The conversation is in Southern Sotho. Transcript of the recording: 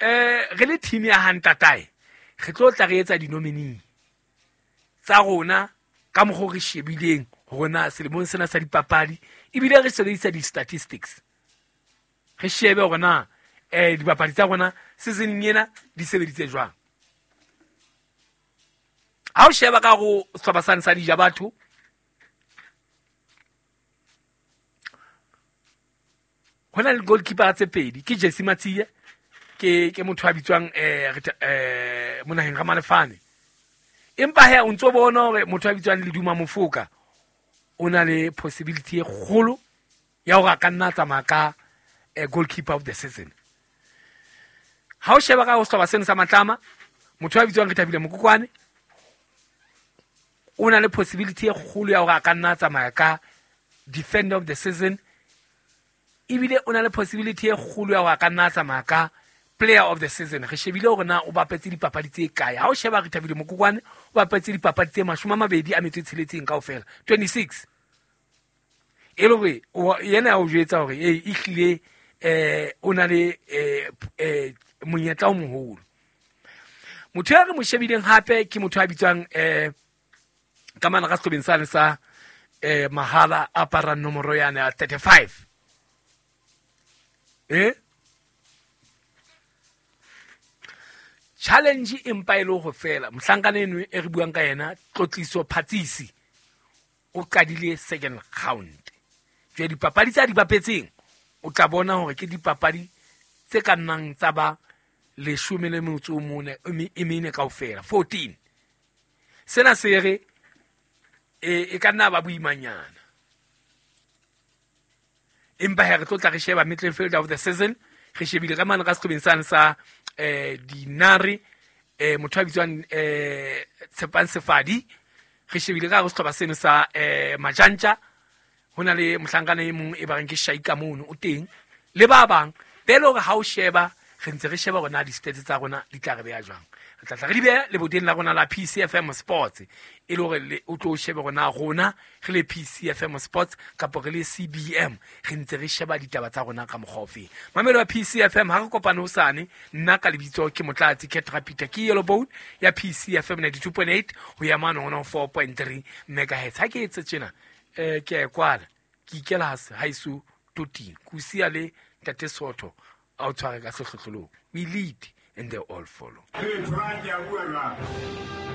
Re le team ya hantatae re tlo tla re etsa di-nominee tsa rona ka mokgwa o re shebileng hore na selemong sena sa dipapadi, ebile re sebedisa di-statistics, re shebe hore na dibapadi tsa rona seasoneng ena di sebeditse jwang. Ha o sheba ka go sehlopha sane sa dija batho, ho na le goalkeeper tse pedi, ke Jesse Matsie, ke motho a bitswang Monaheng Ramalefane. Empa he o ntso bona hore motho a bitswang Leduma Mofoka o na le possibility e kgolo ya hore a ka nna tsamaya ka goalkeeper of the season. Ha o sheba ka ho sehlopha seno sa Matlama, motho a bitswang Rethabile Mokokwane o na le possibility e kgolo ya hore a ka nna tsamaya ka defender of the season, ebile o na le possibility e kgolo ya hore a ka nna tsamaya ka player of the season. Re shebile hore na o bapetse dipapadi tse kae. Ha o sheba Rethabile Mokokwane o bapetse dipapadi tse 26 kaofela, 26. E le hore yena ya o jwetsa hore e ehlile o na le monyetla o moholo. Motho ya re mo shebileng hape ke motho a bitswang ka mana ka sehlobeng sane sa mahala a aparang nomoro yane ya 35. Challenge empa e le ho fela. Mohlankana eno e re buang ka yena, Tlotliso Phatsisi, o qadile second round. Jwale dipapadi tsa di bapetseng o tla bona hore ke dipapadi tse ka nnang tsa ba 14 kaofela, 14. Sena se re e ka nna ba boimanyana. Empa he re tlo tla re sheba midfielder of the season, re shebile ka mane ka sehlobeng sane sa dinare, motho a bitswang Tshepang Sefadi, re shebile ka hare sehlopha seno sa Majantja, ho na le mohlankana e mong e ba reng ke Shaika mono o teng, le ba bang be le hore ha o sheba re ntse re sheba hore na di-stats tsa rona di tla re beha jwang. Re tla tla re di beha leboteng la rona la PCFM Sports, e le hore o tlo shebe hore na rona re le PCFM Sports kapa re le CBM re ntse re sheba ditaba tsa rona ka mokgwa ofeng. Mamelo ya PCFM, ha re kopane hosane, nna ka lebitso ke Motlatsi Ketra Peter, ke Yellow Bone ya PCFM 92.8 ho ya mane hona 4.3 megahertz. Ha ke etse tjena, ke a e kwala, ke ikela haeso toting, ke o siya le Ntate Sotho a o tshware ka sehlohlolong. We lead and they all follow. Hey, Frank, ke a bua jwang?